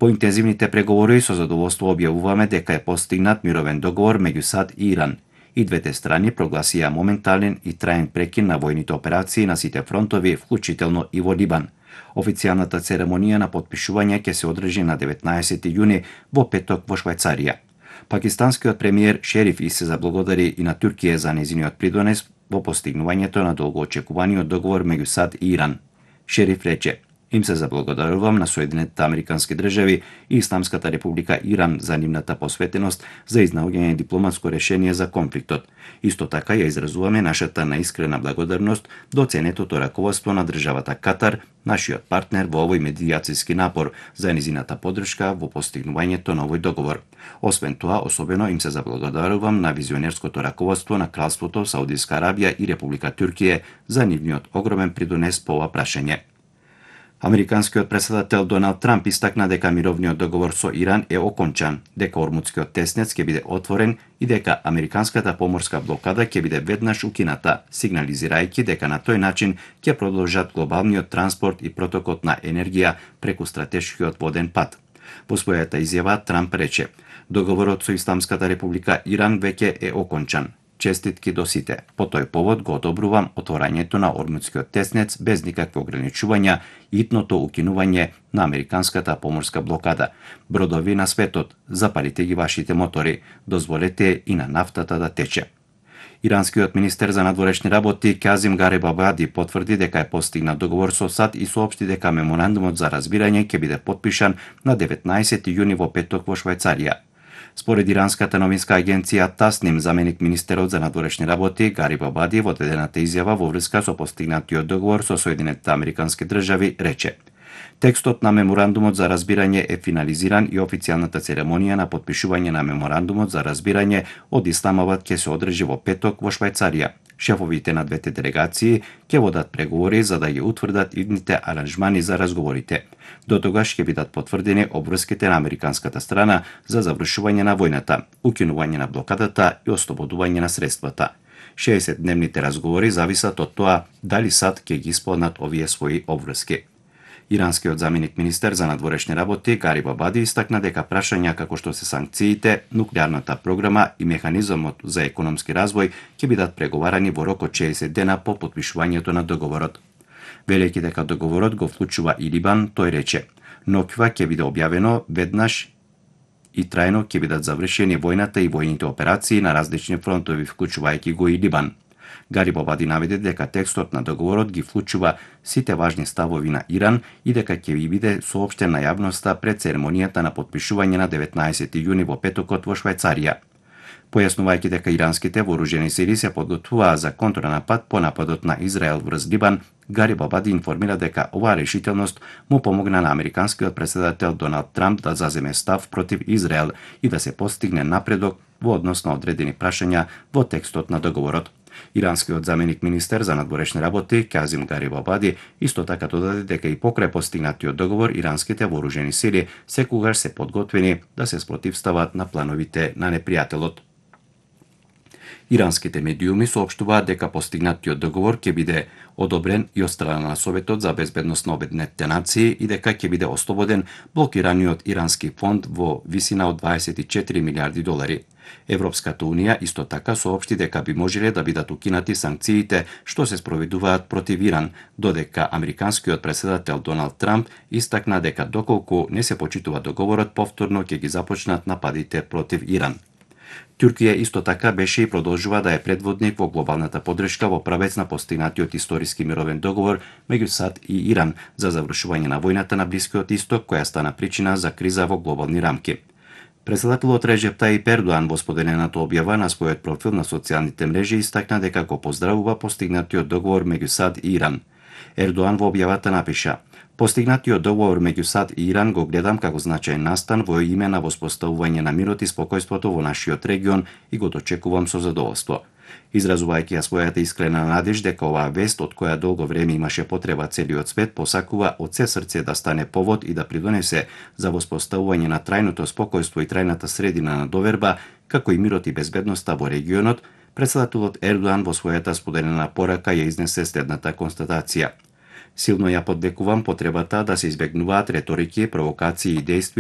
По интензивните преговори со задоволство објавуваме дека е постигнат мировен договор меѓу САД и Иран. И двете страни прогласија моментален и траен прекин на војните операции на сите фронтови, вклучително и во Либан. Официјалната церемонија на потпишување ќе се одржи на 19 јуни во петок во Швајцарија. Пакистанскиот премиер Шериф се заблагодари и на Туркија за нејзиниот придонес во постигнувањето на долгоочекуваниот договор меѓу САД и Иран. Шериф рече: "Им се заблагодарувам на Соединетите Американски држави и Исламската република Иран за нивната посветеност за изнаоѓање дипломатско решение за конфликтот. Исто така ја изразуваме нашата наискрена благодарност до ценетото раководство на државата Катар, нашиот партнер во овој медијацијски напор, за нејзината поддршка во постигнувањето на овој договор. Освен тоа, особено им се заблагодарувам на визионерското раководство на Кралството Саудиска Арабија и Република Туркија за нивниот огромен придонес по ова прашање." Американскиот претседател Доналд Трамп истакна дека мировниот договор со Иран е окончан, дека Ормудскиот теснец ќе биде отворен и дека американската поморска блокада ќе биде веднаш укината, сигнализирајќи дека на тој начин ќе продолжат глобалниот транспорт и протокот на енергија преку стратешкиот воден пат. Во својата изјава Трамп рече: "Договорот со Исламската република Иран веќе е окончан. Честитки до сите. По тој повод го одобрувам отворањето на Ормудскиот теснец без никакви ограничувања и итното укинување на американската поморска блокада. Бродови на светот, запалите ги вашите мотори, дозволете и на нафтата да тече." Иранскиот министер за надворешни работи Казим Гарибабади потврди дека е постигнат договор со САД и соопшти дека меморандумот за разбирање ќе биде потпишан на 19 јуни во петок во Швајцарија. Според иранската новинска агенција Тасним, заменик министерот за надворешни работи Гарибабади во дадената изјава во врска со постигнатиот договор со Соединетите Американски држави рече: "Текстот на меморандумот за разбирање е финализиран и официјалната церемонија на потпишување на меморандумот за разбирање од Исламабад ќе се одржи во петок во Швајцарија. Шефовите на двете делегации ќе водат преговори за да ги утврдат идните аранжмани за разговорите. До тогаш ќе бидат потврдени обврските на американската страна за завршување на војната, укинување на блокадата и ослободување на средствата. 60-дневните разговори зависат од тоа дали САД ќе ги исполнат овие своји обврски." Иранскиот заменик министер за надворешни работи Гарибабади истакна дека прашања како што се санкциите, нуклеарната програма и механизмот за економски развој ќе бидат преговарани во рок од 60 дена по потпишувањето на договорот. Велејќи дека договорот го вклучува и Либан, тој рече: "Ноква ќе биде објавено веднаш и трајно ќе бидат завршени војната и војните операции на различни фронтови, вклучувајќи го и Либан." Гарибабади наведе дека текстот на договорот ги вклучува сите важни ставови на Иран и дека ќе ви биде соопштен на јавноста пред церемонијата на потпишување на 19 јуни во петокот во Швајцарија. Појаснувајќи дека иранските вооружени сили се подготвуваа за контранапад по нападот на Израел врз Либан, Гарибабади информира дека оваа решителност му помогна на американскиот претседател Доналд Трамп да заземе став против Израел и да се постигне напредок во однос на одредени прашања во текстот на договорот. Иранскиот заменик министер за надворешни работи Казим Гарибабади исто така додаде дека и покрај постигнатиот договор иранските вооружени сили секогаш се подготвени да се спротивстават на плановите на непријателот. Иранските медиуми соопштуваат дека постигнатиот договор ќе биде одобрен и од страна на Советот за безбедност на Обединетите нации и дека ќе биде ослободен блокираниот ирански фонд во висина од 24 милиарди долари. Европската унија исто така соопшти дека би можеле да бидат укинати санкциите што се спроведуваат против Иран, додека американскиот претседател Доналд Трамп истакна дека доколку не се почитува договорот, повторно ќе ги започнат нападите против Иран. Туркија исто така беше и продолжува да е предводник во глобалната поддршка во правец на постигнатиот историски мировен договор меѓу САД и Иран за завршување на војната на Блискиот Исток, која стана причина за криза во глобални рамки. Претседателот Реджеп Тајип Ердоан во споделената објава на својот профил на социјалните мрежи истакна дека го поздравува постигнатиот договор меѓу САД и Иран. Ердоан во објавата напиша: "Постигнатиот договор меѓу САД и Иран го гледам како значаен настан во име на воспоставување на мирот и спокојството во нашиот регион и го дочекувам со задоволство." Изразувајќи ја својата искрена надеж дека оваа вест, од која долго време имаше потреба целиот свет, посакува од се срце да стане повод и да придонесе за воспоставување на трајното спокојство и трајната средина на доверба, како и мирот и безбедноста во регионот, претседателот Ердоан во својата споделена порака ја изнесе следната констатација: "Силно ја поддекувам потребата да се избегнуваат реторики, провокации и дејства